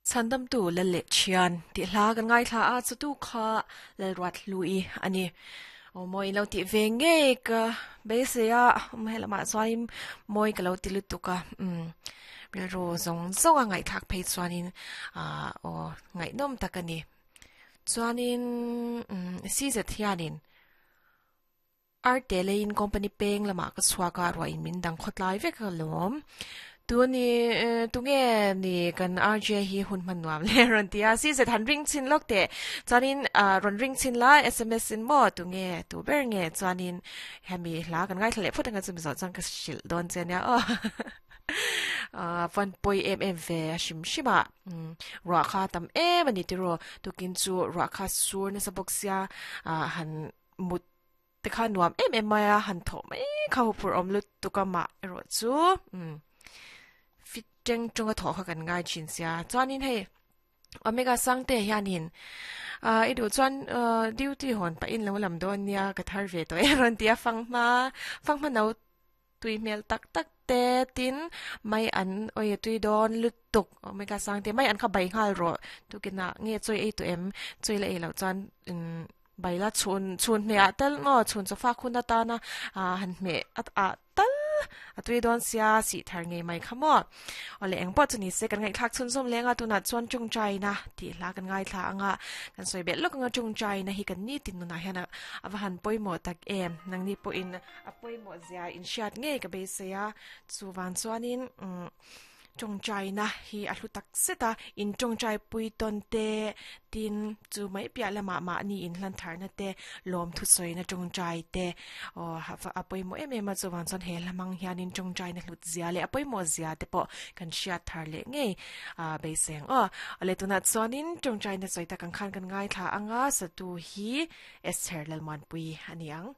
Chhandamtu Lal leh Thian tih hla kan ngaithla a, chutu kha Lalruathlui a ni. Aw mawi lo tih ve ngei ka beisei a, helamah chuanin mawi ka lo ti lutuk a, umm rilru zawng zawng a ngaihthlak phei chuanin ah aw ngaihnawm tak a ni. Chuanin umm CZ hianin Arte leiin company peng lamah ka chhuak a, ruah in min dang khawtlai vek a lawm. Tuni tunge ni kan RJ hi hun hman nuam le rawn ti a, CZ han ring chhin lawk teh. Chuanin rawn ring chhin la sms in maw tunge tu ber nge chuanin hemi hla kan ngaithla leh phawt anga chumi zawh chuan ka hrilh dawn che ania aw. Van pawi em em ve a hrim hrim a, ruah kha tam em a ni tiraw, tukin chu ruah kha sur nasa bawk sia han mut te kha nuam em em mai a, han thawh mai kha huphurh awm lutuk a mah erawh chu umm fit teng tung a thawh kha kan ngai thin sia chuanin hei Omega Sangte hianin ah i duh chuan ah duty hawn pahin lo lam dawn nia ka thar ve tawh e rawn ti a fanghma fanghma no tui hmel tak tak te tin mai an awi a tui dawn lutuk Omega Sangte mai an kha bai nghal rawh tukinah nge chawi ei tawh em chawi la ei loh chuan umm Baila chhun chhun hmeh ah tal maw chhun chawfak hun atana ah han hmeh at ah tal a tui dawn sia sih thar ngei mai kha maw. Awle eng pawh chu ni se kan ngaihthlak chhunzawm leng a tunah chuan tawngtaina tih hla kan ngaithla anga kan sawi belh lawk anga tawngtaina hi kan nitin nunah hian a va han pawimawh tak em nangni pawhin a pawimawh zia inhriat ngei ka beisei a chuvang chuanin umm. Tawngtaina hi a hlu tak zet a, in tawngtai pui tawn te, tin chu mai piah lamah mahni in hlan tharna te, lawm thusawina tawngtai te aw a pawimawh em em a, chuvang chuan he hla hmang hianin tawngtaina hlut zia leh a pawimawh zia te pawh kan hriat thar leh ngei a beisei ang aw. Awle tunah chuanin tawngtaina sawi tak ang khan kan ngaithla ang a, satu hi Esther Lalmuanpui a ni ang.